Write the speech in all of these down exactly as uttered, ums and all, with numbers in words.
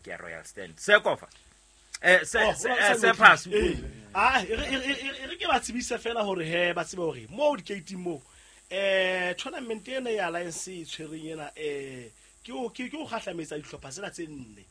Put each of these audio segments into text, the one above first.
ke ya Royal Stand. Sekofa. Eh se se pass. Ah e re ke ba tsebise fela hore he ba tsebe hore mo di-gate mo eh tournament ena ya Alliance e tshwereng ena eh ke o ke o kgahlametsa dihlopha tsena tse nne.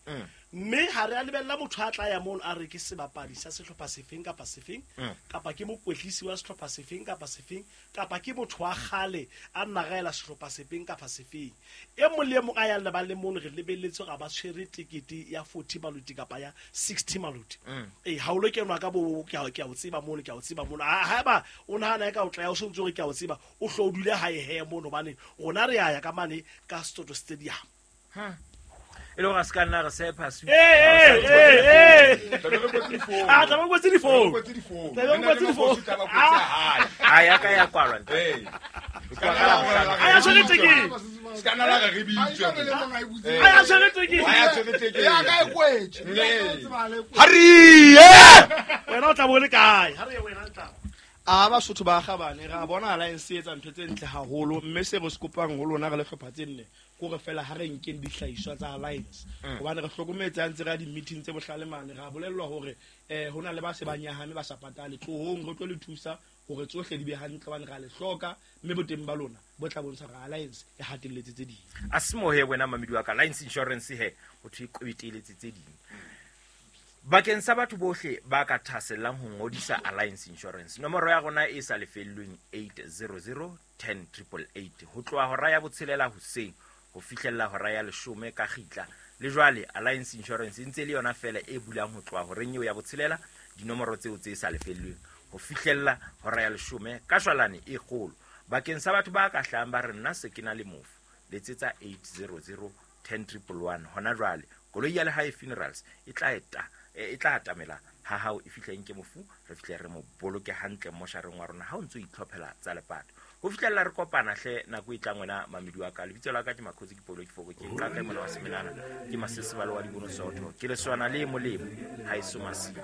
Mme ha re a lebella motho a tla ya mono a re ke sebapadi sa sehlopha sefeng kapa sefeng kapa ke mokwetlisi wa sehlopha sefeng kapa sefeng kapa ke motho wa kgale a nagaela sehlopha sefeng kapa sefeng. E mong le e mong a yang lebaleng mono re lebelletse hore ba tshwere tekete ya forty maluti kapa ya sixty maluti. Eh ha o lo kenwa ka bo ke a ke a o tseba mono ke a o tseba mono. Haeba o nahana ka o tla ya o sontse hore ke a o tseba o hlo o dule hae he mono hobane rona re ya ya ka mane ka Soto Stadium. E le hore a se ka nna re sepa su. Eh eh eh. Ah tla ba kwetse difounu. Tla ba kwetse difounu. A ya ka ya kwalwa ntate. A ya tshwere tekete. Se ka nna la re bitswe. A ya tshwere tekete. A ya tshwere tekete. Ya ka e kwetse. Hariye! Wena o tla bo le kae? Ha re wena tla. A ba Sotho ba kgabane ra bona Alliance e etsa ntho tse ntle haholo mme se re se kopang ho lona re le hlopha tse nne kore fela ha re nkeng dihlahiswa tsa Alliance hobane re hlokometse ha ntse re ya di-meeting tse bohlale mane ra bolellwa hore eh hona le ba se ba nyahame ba sa patale tlohong re tlo le thusa hore tsohle di be hantle hobane ra le hloka mme boteng ba lona bo tla bontsha hore Alliance e hatelletse tse ding. A se mo he wena mamedi wa ka Alliance Insurance he ho thwe e qweteletse tse ding. Bakeng sa batho bohle ba ka thasellang ho ngodisa Alliance Insurance, nomoro ya rona e sa lefellweng eight zero zero ten triple eight ho tloha hora ya botshelela hoseng ho fihlella hora ya leshome ka kgitla. Le jwale Alliance Insurance e ntse le yona fela e bulang ho tloha horeng eo ya botshelela dinomoro tseo tse sa lefellweng ho fihlella hora ya leshome ka shwalane e kgolo. Bakeng sa batho ba ka hlahang ba re nna se ke na le mofu, letsetsa eight zero zero ten triple one hona jwale. Koloi ya Lehae Funerals e tla eta e tla atamela ha hao e fihleng ke mofu re fihle re mo boloke hantle moshareng wa rona ha o ntso itlhophela tsa lepato. Ho fihlella re kopana hle nako e tlang wena mamedi wa ka. Lebitso la ka ke Makhotsi ke Polo ke Foko ke nka ka mona wa Semelana ke Masesebalo wa Dibono Soto ke leswana le molemo ha eso masite.